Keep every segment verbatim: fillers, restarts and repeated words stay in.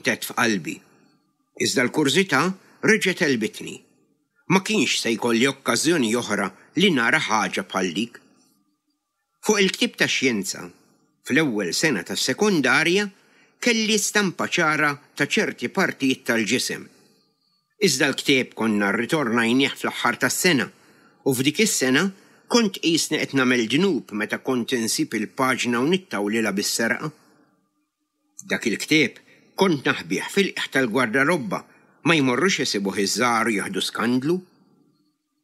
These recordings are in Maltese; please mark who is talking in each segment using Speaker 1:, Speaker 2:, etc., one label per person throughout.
Speaker 1: Għedt f'qalbi. Iżda l-kurżità reġgħet għelbitni. Ma kienx se jkolli okkażjoni oħra li nara ħaġa bħal dik. Fuq il-ktieb ta' xjenza, fl-ewwel sena tas-sekondarja, kelli stampa ċara ta' ċerti partijiet tal-ġisem. Iżda l-ktieb konna rritornajnieh fl-aħħar tas-sena u f'dik is-sena kont qisni qed nagħmel dnub meta kont insib il-paġna u nittawlilha bis-serqa. Dak il-ktieb kont naħbih fil-qiegħ tal-gwardarobba ma jmorrux isibuh iż-żgħar u jieħdu skandlu.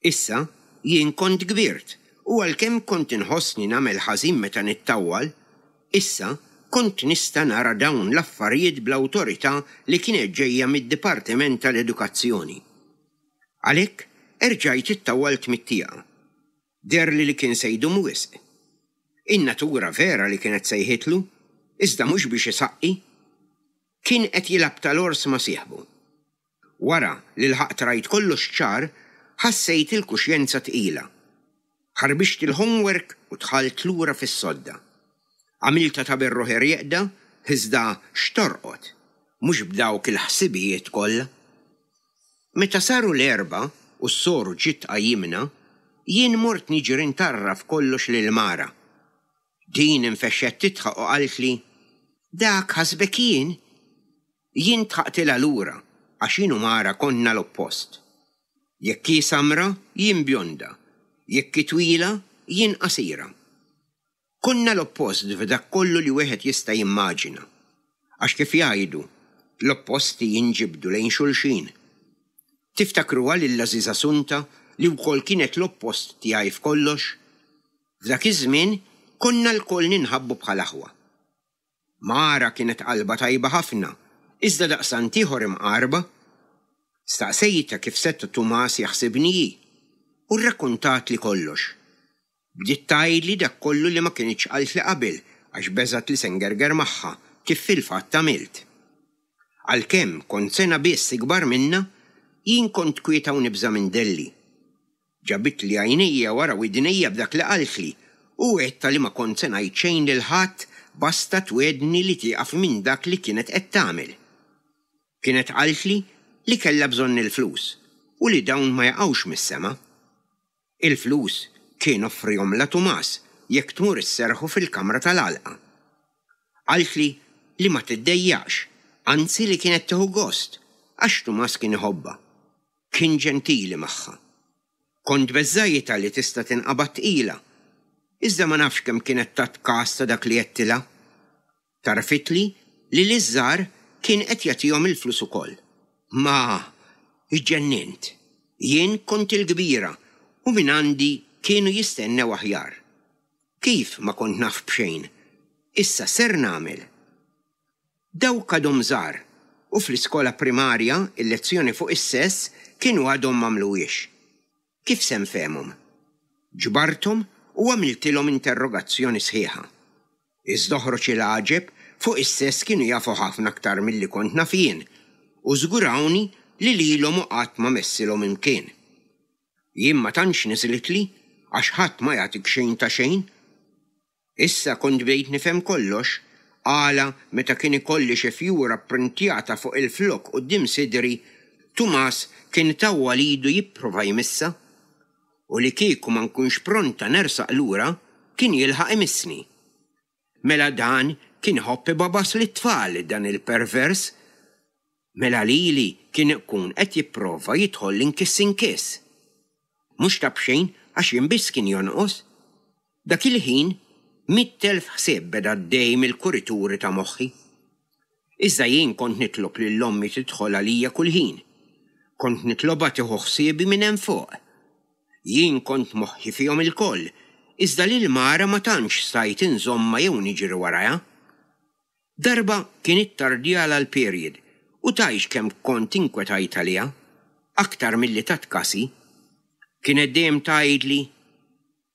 Speaker 1: Issa jien kont kbirt u għalkemm kont inħossni nagħmel ħażin meta nittawwal, issa kont nista' nara dawn l-affarijiet bl-awtorità li kienet ġejja mid-Dipartiment tal-Edukazzjoni. Għalhekk erġajt ittawwalt mit-tieqa. Deherli li kien se jdum wisq. In-natura vera li kienet sejħitlu, iżda mhux biex isaqqi. Kien qed jilgħab tal-ors ma' sieħbu. Wara li lħaqt rajt kollox ċar, ħassejt il-kuxjenza tqila. Ħarbixt il-homework u dħalt lura fis-sodda. Għamilta ta' berruħi rieqda, iżda x'torqod, mhux b'dawk il-ħsibijiet kollha. Meta saru l-erbgħa u s-soru ġiet tqajjimna, jien mort niġri ntarraf kollox lil Mara. Din infexxet tidħaq u qaltli, "Dak ħasbek jien?" Jien dħaqtilha lura għax jien u Mara konna l-oppost. Jekk hi samra, jien bjonda. Jekk hi twila, jien qasira. Konna l-oppost f'dak kollu li wieħed jista' jimmaġina. Għax kif jgħidu, l-opposti jinġibdu lejn xulxin. Tiftakruha lil Għażiża Sunta li wkoll kienet l-oppost tiegħi f'kollox? F'dak iż-żmien konna lkoll ninħabbu bħal aħwa. Mara kienet qalbha tajba ħafna, iżda daqstant ieħor imqarba. Staqsejtha kif seta' Tumas jaħsibni hi u rrakkontatli kollox. Bdiet tgħidli dak kollu li ma kinitx qaltli qabel għax beżgħet li se ngerger magħha kif fil-fatt għamilt. Għalkemm kont sena biss ikbar minnha, jien kont kwieta u nibża' minn Delli. Ġabitli għajnejja wara widnejja b'dak li qaltli u għedtha li ma kont se ngħid xejn lil ħadd basta twegħedni li tieqaf minn dak li kienet qed tagħmel. Kienet qaltli li kellha bżonn il-flus u li dawn ma jaqgħux mis-sema. Il-flus kien offrihomlha Tumas jekk tmur isserrħu fil-kamra tal-għalqa. Qaltli li ma tiddejjaqx, anzi li kienet tieħu gost għax Tumas kien iħobbha. Kien ġentili magħha. Kont beżżajtha li tista' tinqabad tqila, iżda ma nafx kemm kienet tat kas ta' dak li għedtilha. Tarfitli li liż-żgħar kien qed jagħtihom il-flus ukoll. Ma, iġġennint. Jien kont il-kbira u minn għandi kienu jistennew aħjar. Kif ma kont naf b'xejn? Issa ser nagħmel. Dawk għadhom żgħar u fl-iskola primarja il-lezzjoni fuq is-sess kienu għadhom m'għamluhiex. Kif se nfehmhom? Ġbarthom u għamiltilhom interrogazzjoni sħiħa. Iżda oħroġ il-għaġeb fuq is-sess kienu jafu ħafna aktar milli kont naf jien u żgurawni li lilhom u qatt ma messilhom imkien. Jien ma tantx niżlitli għax ħadd ma jagħtik xejn ta' xejn. Issa kont bdejt nifhem kollox għala meta kien ikolli xi fjura pprintjata fuq il-flokk quddiem sidri, Tumas kien itawwal idu jipprova jmissha. U li kieku ma nkunx pronta nersaq lura, kien jilħaq imissni. Mela dan kien iħobb ibabas lit-tfal dan il-pervers. Mela lili kien ikun qed jipprova jidħol inkiss inkiss. Mhux ta' b'xejn għax jien biss kien jonqos. Dak il-ħin mitt elf ħsieb beda għaddej mill-kurituri ta' moħħi. Iżda jien kont nitlob lil ommi tidħol għalija kull ħin. Kont nitlobha tieħu ħsiebi minn hemm fuq. Jien kont moħħi fihom ilkoll, iżda lil Mara ma tantx stajt inżommha jew niġri warajha. Darba kien ittardjalha l-period u tgħidx kemm kont inkwetajt għaliha, aktar milli tat kasi. Kienet dejjem tgħidli,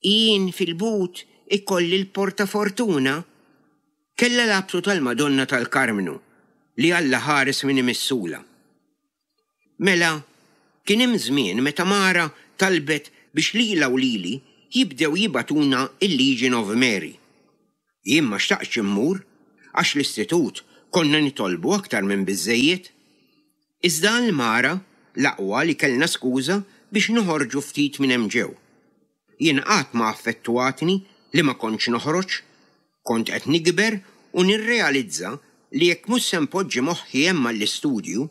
Speaker 1: Jien fil-but ikolli l-portafortuna. Kellha l-abtu tal-Madonna tal-Karmnu li Alla ħares min imissula. Mela, kien hemm żmien meta Mara talbet biex lilha u lili jibdew jibagħtuna l-Legion of Mary. Jien ma xtaqtx immur għax l-istitut Konna nitolbu aktar minn biżżejjed. Iżda għal Mara, l-aqwa li kellna skuża biex noħorġu ftit minn hemm ġew. Jien qatt ma affettwatni li ma kontx noħroġ. Kont qed nikber u nirrealizza li jekk mhux se npoġġi moħħi hemm għall-istudju,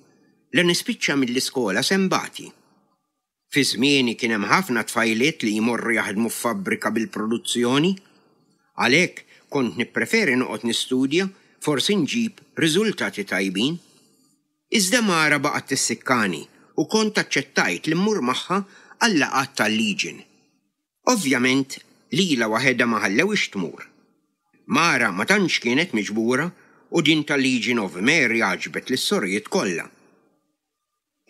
Speaker 1: la nispiċċa mill-iskola se nbati. Fi żmieni kien hemm ħafna tfajliet li jmorru jaħdmu f'fabbrika bil-produzzjoni. Għalhekk kont nippreferi noqgħod nistudja forsi nġib riżultati tajbin. Iżda Mara baqgħet tissikkani u kont aċċettajt li mmur magħha għal-laqgħat tal-Legion. Ovvjament lilha waħedha ma ħallewhiex tmur. Mara ma tantx kienet miġbura u din tal-Legion of Mary għaġbet lis-sorijiet kollha.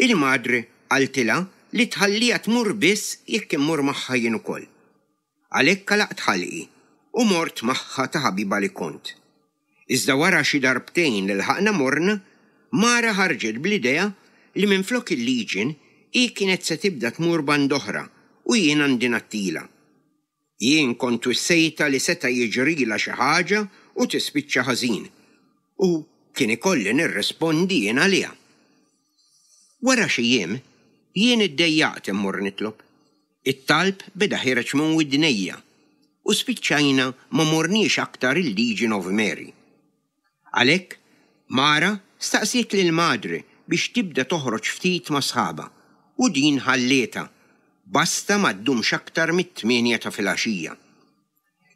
Speaker 1: Il-madre qaltilha li tħalliha tmur biss jekk immur magħha jien ukoll. Għalhekk għalaqt ħalqi u mort magħha ta' ħabiba li kont. Iżda wara xi darbtejn li lħaqna morna, Mara ħarġet bl-idea li minflok il-Legion hi kienet se tibda tmur band'oħra u jien għandi ngħattilha. Jien kont wissejtha li seta' jiġrilha xi ħaġa u tispiċċa ħażin u kien ikolli nirrispondi jien għaliha. Wara xi jiem, jien iddejjaqt immur nitlob. It-talb beda ħiereġ minn widnejja u spiċċajna ma morniex aktar il-Legion of Mary. Għalhekk, Mara staqsiet lil madre biex tibda toħroġ ftit ma' sħabha u din ħallietha, basta ma ddumx aktar mit-tmienja ta' filgħaxija.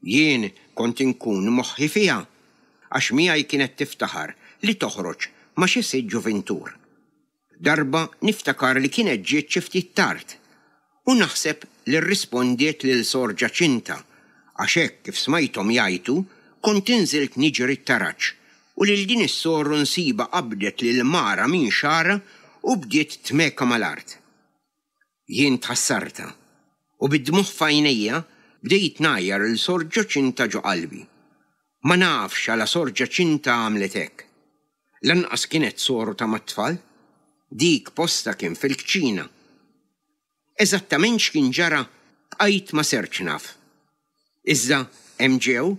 Speaker 1: Jien kont inkun moħħi fiha għax miegħi kienet tiftaħar li toħroġ ma' xi sitt ġuvintur. Darba niftakar li kienet ġiet xi ftit tard u naħseb li rrispondiet lil Sor Ġaċinta għax hekk kif smajthom jgħajtu kont inżilt niġri t-taraġ u lil din is-soru nsibha qabdet lil Mara minn xagħarha u bdiet tmekha mal-art. Jien tħassartha u bid-dmugħ f'għajnejja bdejt ngħajjar lil Sor Ġaċinta ġo qalbi. Ma nafx għala Sor Ġaċinta għamlet hekk. Lanqas kienet soru ta' mat-tfal. Dik postha kien fil-kċina. Eżattament x'kien ġara bqajt ma sertx naf. Iżda hemm ġew,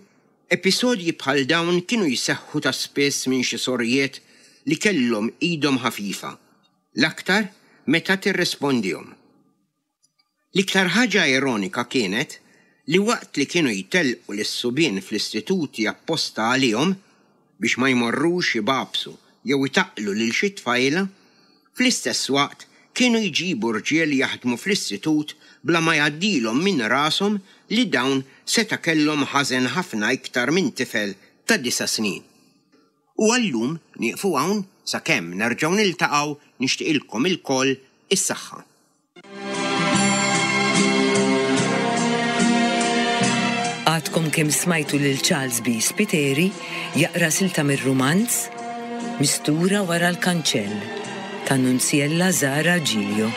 Speaker 1: episodji bħal dawn kienu jseħħu ta' spiss minn xi sorijiet li kellhom idhom ħafifa, l-aktar meta tirrispondihom. L-iktar ħaġa ironika kienet li waqt li kienu jtellqu lis-subien fl-istituti apposta għalihom biex ma jmorrux ibabsu jew itaqqlu lil xi tfajla, fl-istess waqt kienu jġibu rġiel jaħdmu fl-istitut bla ma jgħaddilhom minn rashom li dawn seta' kellhom ħażen ħafna iktar minn tifel ta' disa' snin. U għallum nieqfu hawn sakemm nerġgħu niltaqgħu nixtieqilkom ilkoll is-saħħa.
Speaker 2: Għadkom kemm smajtu lil Charles B. Spiteri jaqra silta mir-rumanz Mistura wara l-kanċell ta' Nunziella Zara Giglio.